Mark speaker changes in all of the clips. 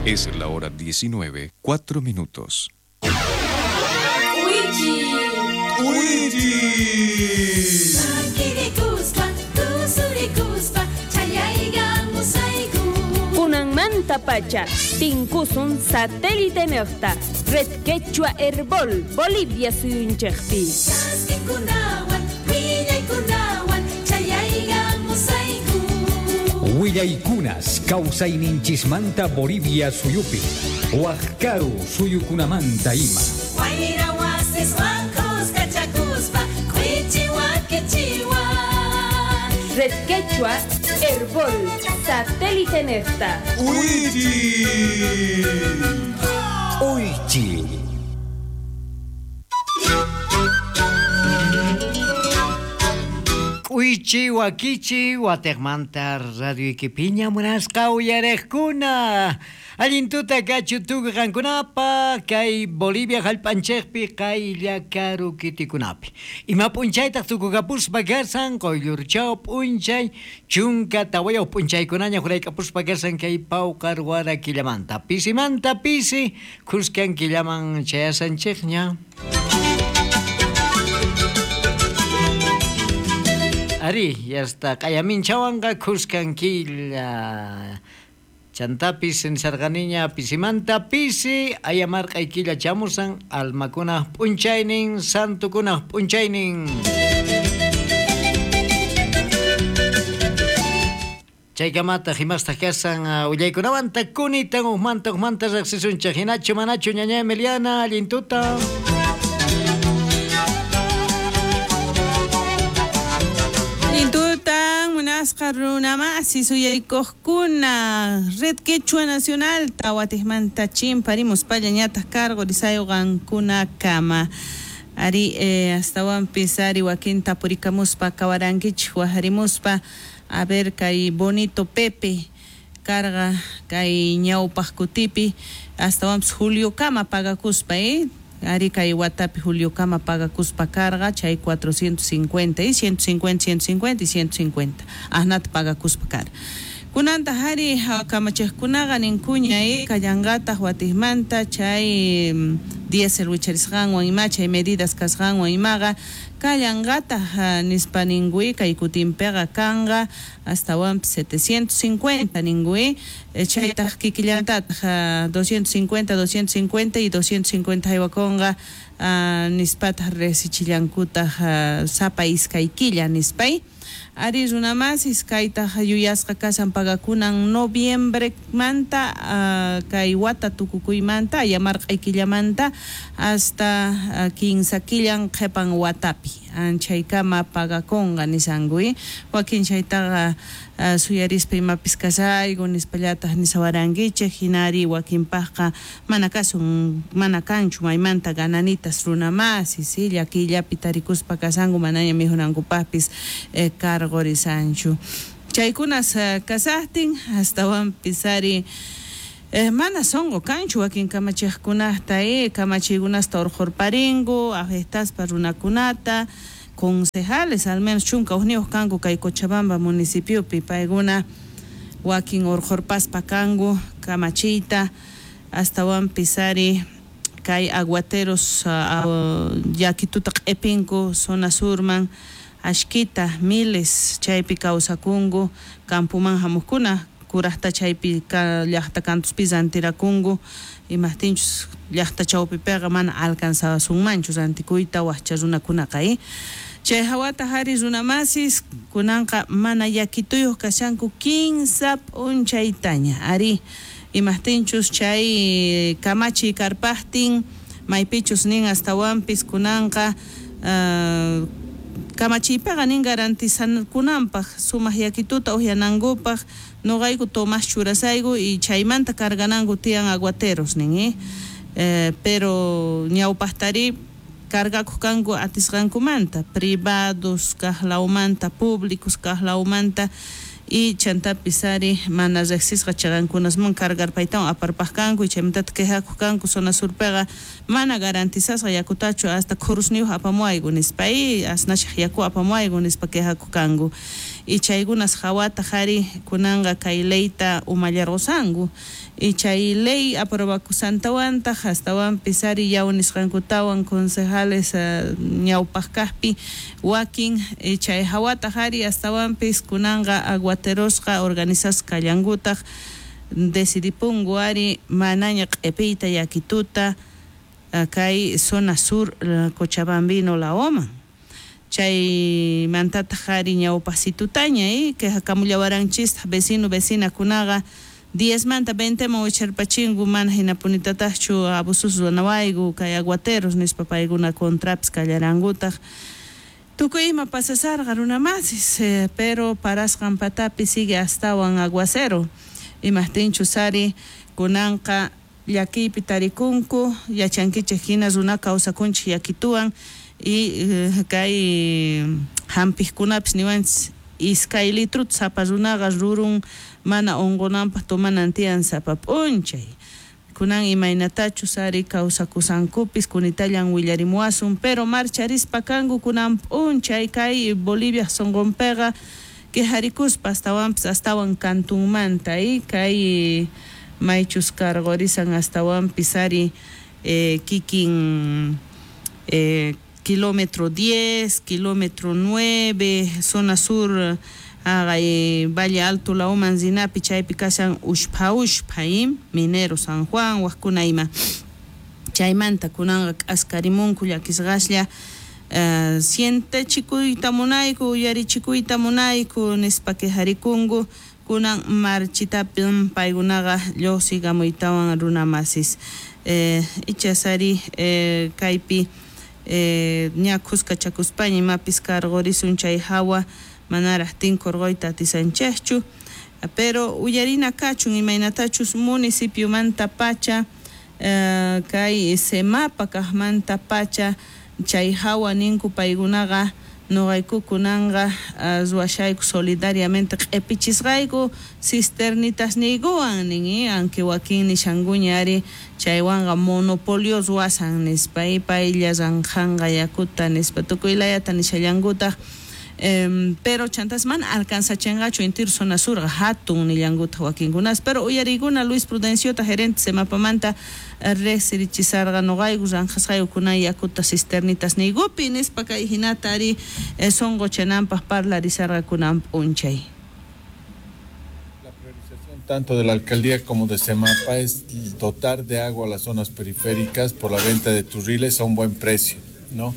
Speaker 1: Es la hora 19, 4 minutos.
Speaker 2: Kunanmantapacha tinkusun satélite nejta Red Quechua Herbol Bolivia suyunchejpi.
Speaker 3: Willaykunas kawsayninchismanta Bolivia suyupi, wajkaru suyukunamanta ima.
Speaker 2: Red Quechua Herbol satélite nejta.
Speaker 3: Uychi.
Speaker 4: K'uychi wakichi watejmanta radioykipiña munasqa uyarejkuna. Allin tuta kachu tukuy qankunapaq kay Bolivia jallp'anchejpi qaylla karu kitikunapi. Ima p'unchaytaq tukukapuspa kasan quyllurchaw p'unchay 14 p'unchaykunaña jurayk'apuspa kasan kay pawqar wara killamanta. Pisimanta pisi khuskan killaman chayasanchejña. Ari, yasta q'ayaminchawanqa khuskan killa. Chantapis nisarqaniña pisimanta pisi ayamarq'ay killa chamusan almakunaj p'unchaynin santukunaj p'unchaynin. Chaykamataq imastaq kasan willaykunamanta kunitan ujmanta ujmanta riqsisunchik hinachu manachu ñaña Emiliana allin tuta.
Speaker 5: Munasqa runamasi suyaykuqkuna Red Quechua Nacional tawatijmanta chimparimuspalla ñataq karqurisayu qankunakama. Ari astawanpis ari wakinta purikamuspa kawarankichik wajarimuspa a ver kay Bonito Pepe karqa kay ñawpaq kutipi astawanpis Juliokama pagakuspa Ari kay watapi Juliokama pagakuspa karqa chay 450 y 150, 150 y 150 asnata pagakuspa karqa. Kunanta hari kamachejkunaqa ninkuña kallanqataq watijmanta chay diésel wicharisqanwan ima chay medidas kasqanwan imaqa kallanqataq nispa ninkui kay kutinpiqa kanqa astawanpis 750 ninkui chaytaq kikillantataq 250, 250 y 250 haywakunqa nispataq resichillankutaq sapa iskay killa nispay. Ari runamasis kaytaq yuyasqa kasan pagakunan noviembremanta kay wata tukukuymanta ayamarq'ay killamanta hasta 15 killan qhipan watapi anchaykama pagakunqa nisanku wakin chaytaqa suyarispa imapis kasayku nispallataq nisawarankichik hinari wakinpaqqa mana kasun mana kanchu maymanta gananitas runamasis llakillapi tarikuspa kasanku manaña mijunankupaqpis karqurisanchu. Chaykunas kasaqtin astawanpis ari mana sonqo kanchu wakin kamachiqkunata kamachiykunasta urqurparinku afectaspa runakunata concejales al menos 11 kanku kay Cochabamba municipiopi paykuna wakin urqurpaspa kanku kamachiyta astawanpis ari kay aguateros llakituta q'ipinku zona surman ashkita miles chaypi kawsakunku campoman hamuqkuna kuraqta chaypi llaqta kantuspi rantirakunku imaqtinchus llaqta chawpipiqa mana alcanzasunmanchu rantikuyta waqcha runakunaqa chay hawata hari runamasis kunanqa mana llakituyuq kashanku 15 p'unchaytaña ari imaqtinchus chay kamachiy karpaqtin maypichus nin astawanpis kunanqa kamachiypiqa nin garantizankunanpaq sumaq llakituta uhyanankupaq noqayku Tomás churasayku y chaymanta cargananku tiyan aguateros nin pero ñawpaqtari cargakuq kanku atisqankumanta privados kaqlawmanta públicos kaqlawmanta y chantapis ari mana riqsisqa chaqankunasman cargarpaytawan aparpaq kanku y chaymantataq quejakuq kanku zona surpiqa mana garantizasqa yakutachu hasta khurusniyuq apamuwayku nispa asnashaq yaku apamuwayku nispa quejakuq kanku. Y chaykunas hawataq ari kunanqa kay leyta umallarqusanku. Y chay ley aprobakusantawantaq astawanpis ari yaw nisqankutawan concejales ñawpaq kaqpi wakin chay hawataq ari astawanpis kunanqa aguaterosqa organizasqa kallankutaq decidipunku ari manaña q'ipiyta yakituta kay zona sur Cochabambino laoman. Chaymantataq ari ñawpaqsitutaña quejakamullawaranchistaq vecino vecinakunaqa 10 manta 20 man wicharpachinku mana hinapunitataqchu abusos ruwanawayku kay aguateros nispa paykuna contrapis kallarankutaq. Tukuy ima pasasarqa runamasis pero parasqan patapi sigue astawan aguacero. Imaqtinchus ari kunanqa llakiypi tarikunku yachankichik hina runa kawsakunchik yakituwan y kay hampiqkunapis niwanchis iskay litruta sapa runaqa rurun mana unqunanpaq tomanan tiyan sapa p'unchay. Kunan imaynatachus ari kawsakusankupis kunitallan willarimuwasun pero marcharispa kanku kunan p'unchay kay Bolivia sunqunpiqa quejarikuspa astawanpis astawan kantunmanta kay maychus karqurisan astawanpis ari kikin kilómetro 10, kilómetro 9, zona sur Valle Alto lauman rinapi chaypi kashan ushpha ushpha Minero San Juan wajkuna ima chaymanta kunanqa k'askarimunku llakisqaslla sientechikuyta munayku uyarichikuyta munayku nispa quejarikunku kunan marchitapin paykunaqa lluqsikamuytawan runamasis ichas ari kaypi ña khuskachakuspaña imapis karqurisun chay hawa manaraq tinkurquyta atisanchikchu pero uyarina kachun imaynatachus municipiomanta pacha kay Semapa kaqmanta pacha chay hawa ninku paykunaqa nuqayku kunanqa ruwashayku solidariamente q'ipichisqayku cisternitasniykuwan nin aunque wakin nishankuña ari chaywanqa monopolio ruwasan nispa paylla ranqanqa yakuta nispa tukuy layata nishallankutaq pero chantas mana alcanzachinqachu intiru zona surqa hatun nillankutaq wakinkunas pero uyariykuna Luis Prudenciota gerente Semapamanta riqsirichisarqa nuqayku ranqasqayku kunan yakuta cisternitasniykupi nispa kay hinata ari sunquchananpaq parlarisarqa kunan p'unchay.
Speaker 6: La priorización tanto de la alcaldía como de Semapa es dotar de agua a las zonas periféricas por la venta de turriles a un buen precio, ¿no?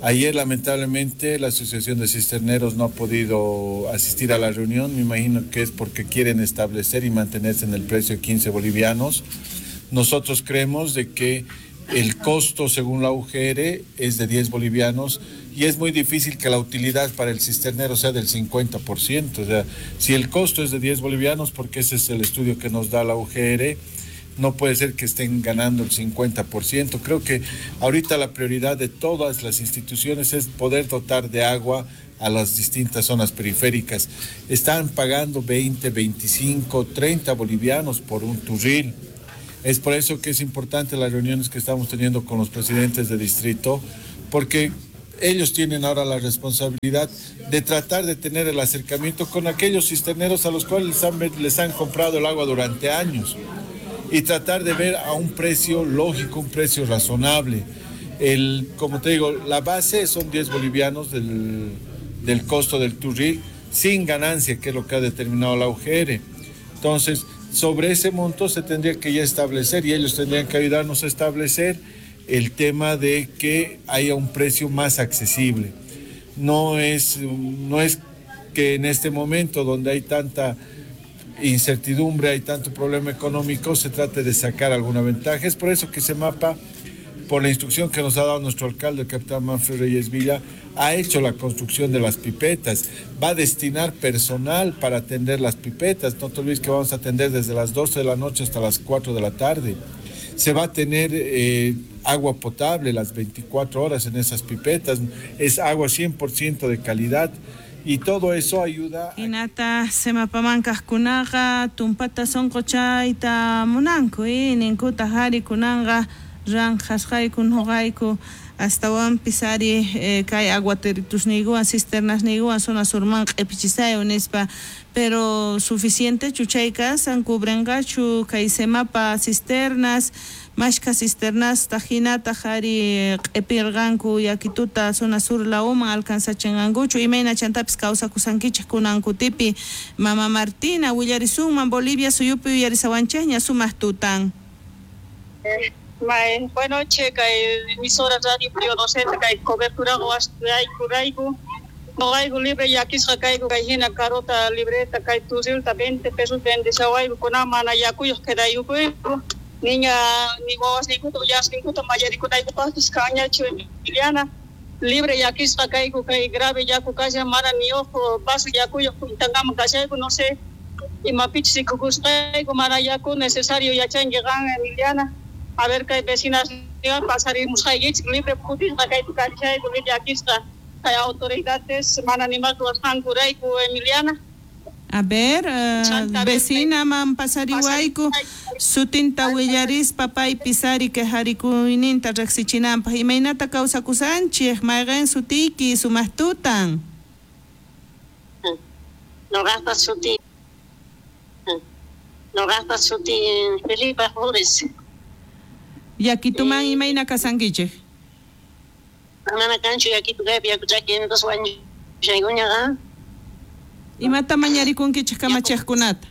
Speaker 6: Ayer, lamentablemente, la Asociación de Cisterneros no ha podido asistir a la reunión. Me imagino que es porque quieren establecer y mantenerse en el precio de 15 bolivianos. Nosotros creemos de que el costo, según la UGR, es de 10 bolivianos y es muy difícil que la utilidad para el cisternero sea del 50%. O sea, si el costo es de 10 bolivianos, porque ese es el estudio que nos da la UGR, no puede ser que estén ganando el 50%. Creo que ahorita la prioridad de todas las instituciones es poder dotar de agua a las distintas zonas periféricas. Están pagando 20, 25, 30 bolivianos por un turril. Es por eso que es importante las reuniones que estamos teniendo con los presidentes de distrito, porque ellos tienen ahora la responsabilidad de tratar de tener el acercamiento con aquellos cisterneros a los cuales les han comprado el agua durante años y tratar de ver a un precio lógico, un precio razonable. Como te digo, la base son 10 bolivianos del costo del turril, sin ganancia, que es lo que ha determinado la UGR. Entonces, sobre ese monto se tendría que ya establecer, y ellos tendrían que ayudarnos a establecer el tema de que haya un precio más accesible. No es que en este momento donde hay tanta incertidumbre, hay tanto problema económico, se trate de sacar alguna ventaja. Es por eso que Semapa, por la instrucción que nos ha dado nuestro alcalde, el capitán Manfred Reyes Villa, ha hecho la construcción de las pipetas, va a destinar personal para atender las pipetas. No te olvides que vamos a atender desde las 12 de la noche hasta las 4 de la tarde. Se va a tener agua potable las 24 horas en esas pipetas, es agua 100% de calidad. Y todo eso ayuda.
Speaker 5: Hinata Semapaman kaqkunaqa tumpata sunquchayta munanku, ninkuta hari kunanqa Ranqhasqayku noqayku astawanpis ari kay aguateritusniykuwan cisternasniykuwan zona surman q'ipichisayku nispa, pero suficientechu chay kasan, cubrenqachu kay Semapa cisternas, mashkha cisternasta hinataq ari q'ipirqanku yakituta zona sur lawman alcanzachinqankuchu, imayna chantapis kawsakusankichik kunan kutipi. Mama Martina, willarisunman Bolivia suyupi uyarisawanchikña sumaq tutan.
Speaker 7: Bueno, che, kay emisora radio Pío Docente, kay cobertura rayku, noqayku libre llakisqa kayku, kay hina carota libreta, kay turrilta 20 pesos vendeshawayku, kunan mana yakuyuq quedayukuyku, niña ni wawasninkuta uyasninkuta mayarikunaykupaqpis kanñachu Emiliana, libre llakisqa kayku, kay grave yaku kashan, mana ni uj vaso yakuyuq kuntankama kashayku, no sé, imapichus rikukusqayku, mana yaku necesario yachanki qan Emiliana. A ver, kay vecinas pasarimusqaykichik libre putisqa kaypi kashayku, libre llakisqa kay autoridades mana nimal ruwasqankurayku Emiliana.
Speaker 5: A ver, vecinaman pasariwayku sutinta willarispa paypis ari quejarikuyninta riqsichinanpaq, imaynata kawsakusanchik, mayqin sutiyki sumaq tutan.
Speaker 8: Noqaqta suti Felipe Flores.
Speaker 5: Yakituman imayna kasankichik?
Speaker 8: Mana kanchu yakitu kaypi yaku chaki entonces wañushaykuñaqa.
Speaker 5: Imata mañarikunkichik kamachiqkunata?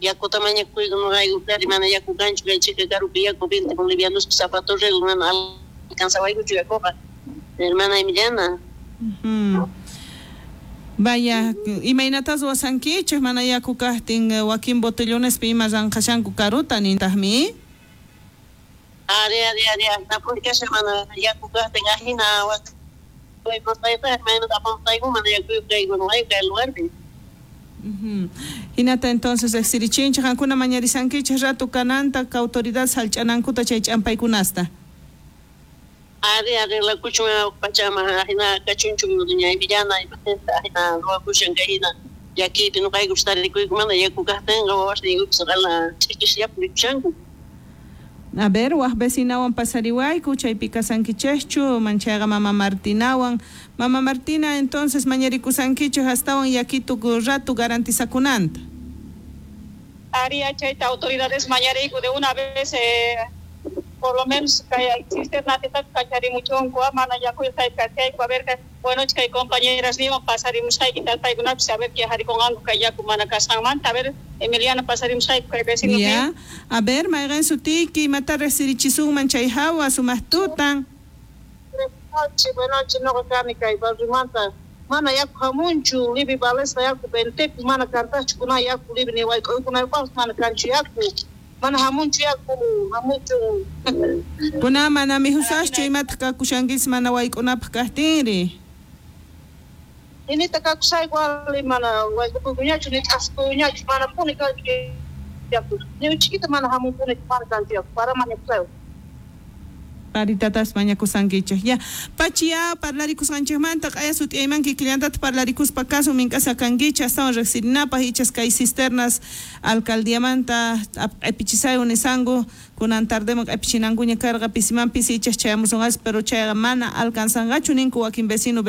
Speaker 8: Yakuta mañakuyku noqayku kari mana yaku kanchu kay chika karupi yaku 20 bolivianos zapato rego mana alcanzawaykuchu yakuqa, hermana Emiliana.
Speaker 5: Vaya, imaynatas ruwasankichik mana yaku kaqtin wakin botellonespi ima ranqashanku karuta nintaqmi?
Speaker 8: Ari, ari, ari, napuri kashan mana yaku kaqtin ajina lugarpi.
Speaker 5: Hinata entonces riqsirichinchik qankuna mañarisankichik rato kananta autoridad sallch'anankuta chay ch'ampaykunasta.
Speaker 8: Ari, arreglakuchun pachama ajina kachunchu doña Emiliana ajina ruwakushan kay hina llakiypi noqayku tarikuyku mana yaku kaqtinqa wawasniykupis qala ch'ikisllapi rikushanku.
Speaker 5: A ver, waj vecinawan pasariwayku, chaypi kasankichikchu, manchayqa mama Martinawan. Mama Martina, entonces mañarikusankichik astawan yakitu rato garantizakunanta.
Speaker 7: Ari, chayta autoridades mañariyku de una vez, por lo menos kay cisternatita kacharimuchunku, mana yakuyuq kay kachayku, a ver, bueno, kay compañeras niwan pasarimusqayki paykunapis a ver quejarikunqanku kay yaku mana kasqanmanta, a ver, Emiliana pasarimusqayku kay vecino.
Speaker 5: Ya, a ver, mayqin sutiyki, imata riqsirichisunman chay hawa sumaq tutan.
Speaker 8: Buenas noches, noqa kani kay barriomanta, mana yaku hamunchu, libre valesqa yaku 20 mana kantachu kuna yaku libre ni wayk'uykunaypaqpis mana kanchu yaku. Mana hamunchu yaku, hamunchu.
Speaker 5: Kuna mana mijusaschu imataq kakushankis mana wayk'unapaq kaqtinri?
Speaker 8: Inita kakusayku ali mana wayk'upuykuñachu ni t'askuyñachu mana puni kanchu yaku. Ni chiquita mana hamunpuni mana kanchu yaku, para mañakusayku.
Speaker 5: Paritatas mañakusankichik. Ya, pachiya parlarikusqanchikmanta q'aya sut'iyayman kikillantata parlarikuspa kasun mink'asqa kankichik astawan riqsirinapaq ichas kay cisternas alcaldiamanta q'ipichisayku nisanku kunan tardeman q'ipichinankuña karqa pisiman pisi ichas chayamusunqas, pero chayqa mana alcanzanqachu ninku wakin vecino.